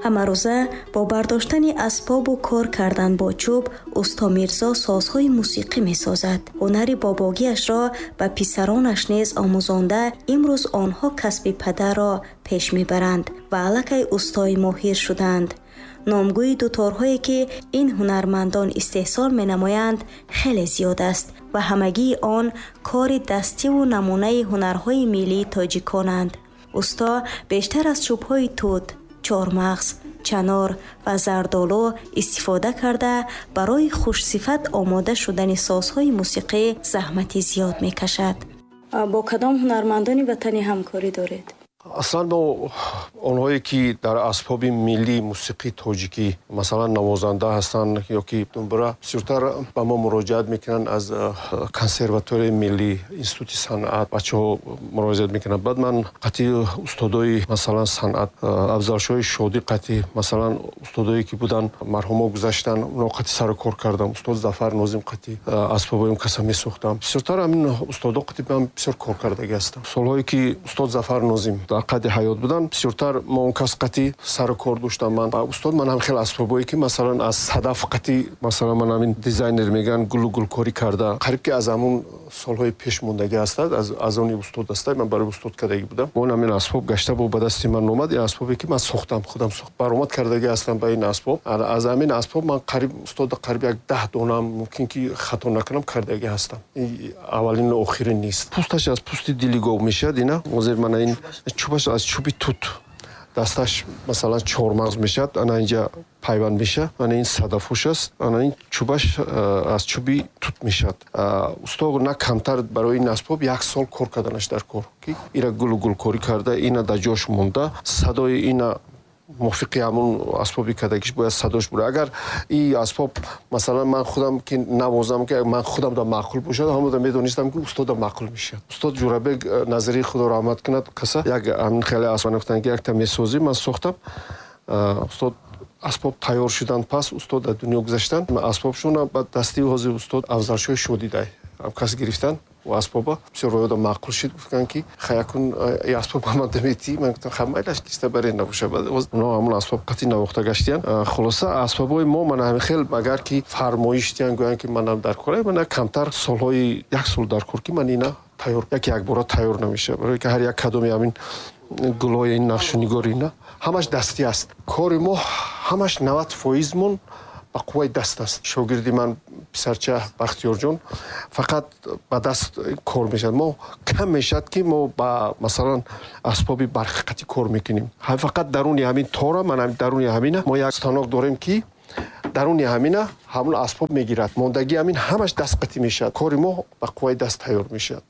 Ҳамарӯза бо бардоштани асбобу кор кардан бо чӯб усто Мирзо созҳои мусиқӣ месозад. Ҳунари бобогиашро ба писаронаш низ омӯзонда, имрӯз онҳо касби падарро пеш мебаранд ва аллакай устои моҳир шуданд. Номгӯи дуторҳое, ки ин ҳунармандон истеҳсол менамоянд, хеле зиёд аст ва ҳамагии он кори дастиву намунаи ҳунарҳои миллии тоҷиконанд. Усто бештар аз чӯбҳои тут, чормағз, чанор ва зардолу истифода карда, барои хушсифат омода шудани созҳои мусиқӣ заҳмати зиёд мекашад. Бо кадом ҳунармандони ватанӣ ҳамкорӣ доред? Аслан мо онҳое, ки дар асбоби миллии мусиқии тоҷикӣ, масалан, навозанда ҳастанд ё ки думбура, бисёртар ба мо муроҷиат мекунанд. Аз консерваторияи миллӣ, институти санъат бачаҳо муроҷиат мекунанд. Баъд ман қатъи устодои, масалан, санъат, Афзалшоҳи Шодӣ қатъи, масалан, устодое, ки буданд, марҳумҳо гузаштанд, онҳо қатъи сару кор кардам. Устод Зафар Нозим қатъи асбобои он каса месохтам. Бисёртар ҳамин устодо қатъи ман бисёр кор кардагӣ ҳастам. Солҳое, ки устод Зафар Нозим дар қайди ҳаёт буданд, бисёртар мо он кас қатъи сару кор доштам. Ман устод, ман ҳам хеле асбобое, ки, масалан, аз садаф қатъи, масалан, ман ҳамин дизайнер мегӯянд, гулу гулкорӣ карда, қариб ки аз ҳамун солҳои пеш мондагӣ ҳастад, аз они устод астад. Ман барои устод кардагӣ будам. Он ҳамин асбоб гашта бо ба дасти ман омад. Ин асбобе, ки ман сохтам, худам баромад кардагӣ ҳастам ба ин асбоб. Аз ҳамин асбоб ман қариб устода қариб як 10 донам, мумкин ки хато накунам, кардагӣ ҳастам. Аввалину охирин нест. Пӯсташ аз пӯсти дили гов мешавад. Ина ҳозир мана ин чӯбаш аз чӯби тут, дасташ, масалан, чормағз мешавад, ана инҷа пайванд мешавад, ана ин садафуш аст, ана ин чӯбаш аз чӯби тут мешавад. Усто на камтар барои ин асбоб як сол кор карданаш дар кор, ки ира гулу гулкорӣ карда, ина дар ҷош монда, садои ина мувофиқи ҳамун асбоби кардагиш бояд садош бура. Агар и асбоб, масалан, ман худам ки навозам, ки ман худам да маъқул бошад, ҳамода медонистам, ки устода маъқул мешавад. Устод Ҷурабек Назарӣ, Худо раҳмат кунад, каса як ҳамин хеле асбоб гуфтанд, ки якта месозӣ. Ман сохтам, устод, асбоб тайёр шуданд, пас устод дар дунё гузаштанд. Асбобшона ба дасти ҳозир устод Афзалшоҳи Шодидай кас гирифтанд. Асбоба бисёр роёда маъқул шид. Гуфтанд, ки хаякун асбоб ба ман даметӣ. Ман гуфтам, ха, майлаш, киста баре набоша. Онҳо ҳамун асбоб қатъи навохта гаштиянд. Хулоса, асбобҳои мо мана ҳамин хел. Агар ки фармоиш диҳанд, гӯянд, ки манам дар кора, мана камтар солҳои як сол дар кор, ки ман ина тайёр, яке якбора тайёр намешавад, барое ки ҳар як кадоми ҳамин гулҳои ин нақшу нигори ина ҳамаш дастӣ аст. Кори мо ҳамаш 90 фоизмон ба қувваи даст аст. Шогирди ман, писарча Бахтиёрҷон, фақат ба даст кор мешавад. Мо кам мешавад, ки мо ба, масалан, асбоби барқиқатӣ кор мекунем. Фақат даруни ҳамин тора, ман даруни ҳамина мо як станок дорем, ки даруни ҳамина ҳамун асбоб мегирад. Мондагии ҳамин ҳамаш дастқатӣ мешавад. Кори мо ба қувваи даст тайёр мешавад.